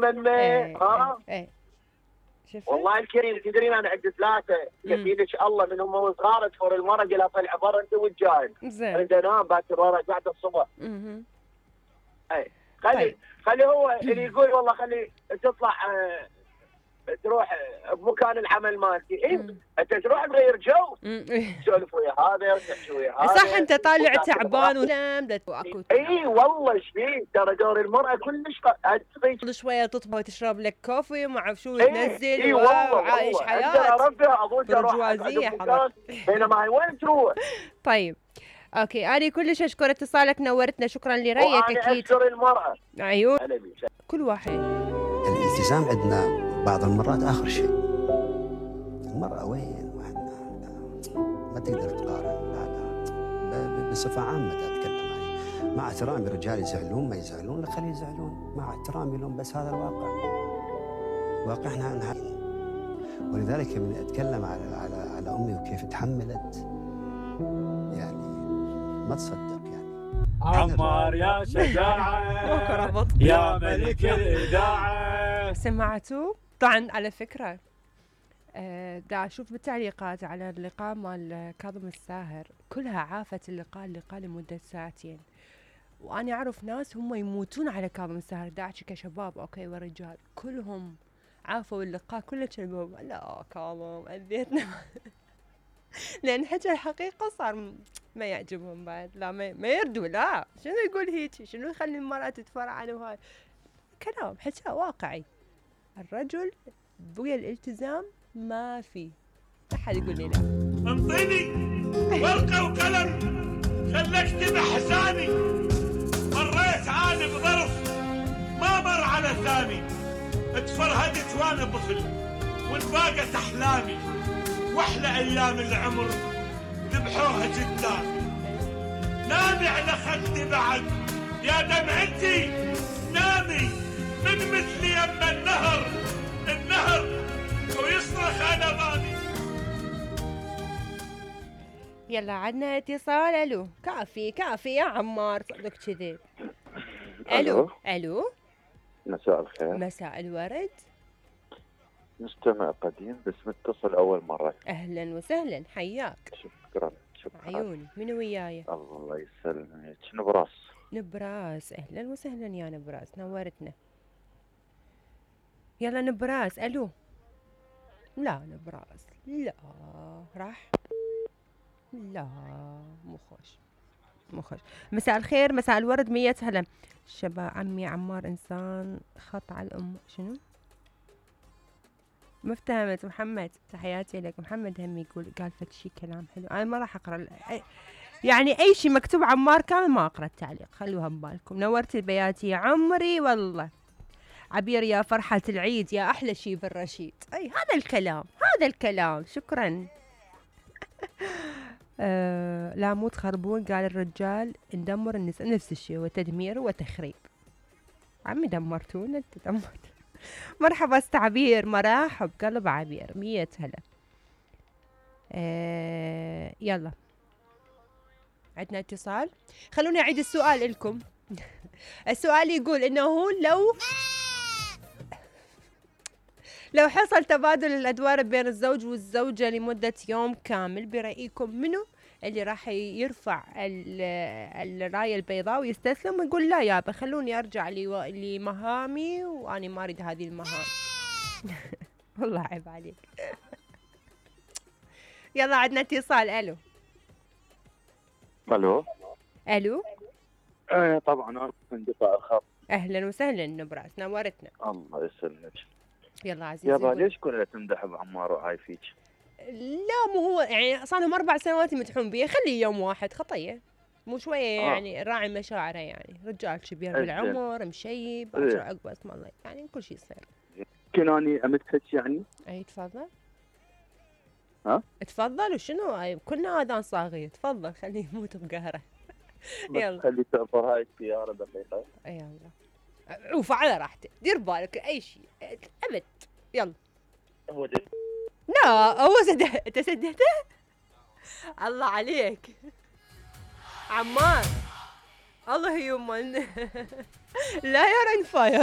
من شفت؟ والله الكريم تدرين انا عندي 3 يبينك الله من هم صغار تفور المرة قال طلع برا انت والجاي. زين. اريد انام باكر ورا قاعد الصبح. اي خلي هو اللي يقول والله خلي تطلع تروح بمكان العمل مالتي. انت تروح تغير جو تسولف ويا هذا وتحكي ويا هذا. صح انت طالع تعبان ونام اكو. اي والله ايش فيك ترى دور المراه كلش كل شويه تطبخ وتشرب لك كوفي وما اعرف شو تنزل. اي والله وعايش حياه اظن برجوازيه حضرتك. بينما هاي وين تروح؟ طيب اوكي انا كلش اشكر اتصالك نورتنا شكرا لرايك. اكيد انا اشكر المراه. عيون كل واحد. الالتزام عندنا بعض المرات آخر شيء. المرأة وين ما تقدر تقارن. لا بصفة عامة أتكلم يعني. مع احترامي الرجال يزعلون ما يزعلون خليه يزعلون مع احترامي لهم بس هذا الواقع. واقعنا ولذلك من أتكلم على أمي وكيف تحملت يعني ما تصدق يعني. عمار يا شجاعة يا ملك الإذاعة. سمعتوا؟ طبعا على فكرة دا أشوف بالتعليقات على اللقاء مال كاظم الساهر كلها عافت اللقاء لمدة 2 ساعة. وأنا أعرف ناس هم يموتون على كاظم الساهر دا أحكي كشباب أوكي ورجال كلهم عافوا اللقاء كله كلموا لا كاظم أذيتنا لأن حكى الحقيقة صار ما يعجبهم بعد. لا ما يردوا. لا شنو يقول هيك شنو يخلي المرأة تتفرعن وهاي كلام حكى واقعي. الرجل بويا الالتزام ما في أحد يقول لي لا. انطيني ورقة وقلم خلك اكتب احزاني. مريت عاني بظرف ما مر على ثاني. اتفرهدت وانا بخل وانباقت احلامي. واحلى ايام العمر ذبحوها قدامي. نامي على خدي بعد يا دمعتي نامي. من مثلي يما النهر ويصرخ انا ماني. يلا عدنا اتصال. الو كافي يا عمار صدق كذب. الو مساء الخير. مساء الورد. مستمع قديم بس متصل اول مره. اهلا وسهلا حياك. شكرا عيوني من وياي؟ الله يسلمك. نبراس. اهلا وسهلا يا نبراس نورتنا. يلا نبراس. الو لا نبراس لا راح لا مو خوش. مساء الخير مساء الورد 100 هلا. شباب عمي عمار انسان خط على الام. شنو ما افتهمت محمد؟ تحياتي لك. محمد هم يقول قال فد شي كلام حلو. انا ما راح اقرا يعني اي شيء مكتوب عمار كامل ما اقرا التعليق خلوها ببالكم. نورتي البيات يا عمري والله. عبير يا فرحة العيد يا احلى شيء بالرشيد. اي هذا الكلام شكرا. لا مو تخربون قال الرجال ندمر النساء نفس الشيء وتدمير وتخريب. عمي دمرتونا انت دمرت. مرحبا استعبير مرحب قلب عبير 100 هلا. يلا عندنا اتصال. خلوني اعيد السؤال لكم. السؤال يقول انه لو حصل تبادل الادوار بين الزوج والزوجة لمدة يوم كامل برأيكم منو اللي راح يرفع الراية البيضاء ويستسلم ويقول لا يابا خلوني ارجع لمهامي واني ما اريد هذه المهام. والله عيب عليك. يلا عندنا اتصال. الو طبعا انا انقطاع الخط. اهلا وسهلا نبراس نورتنا. الله يسلمك. يلا عزيزي. يابا ليش كلها تمدح بعمار وهاي فيك؟ لا مو هو يعني صار لهم 4 سنوات يمدحون بيه خليه يوم واحد خطيه مو شويه يعني راعي مشاعره يعني رجال كبير بالعمر مشيب عقب اسم الله يعني كل شيء يصير. يمكن اني امدحك يعني؟ اي تفضل. تفضل. وشنو كلنا اذان صاغيه. تفضل خليه يموت بقهره. يلا خلي تعبر هاي السياره دقيقه. يلا عوف على راحتك دير بالك اي شيء ابد. يلا هو لا هو انت سدهته. الله عليك عمار الله يومن. لا يا رين فاير.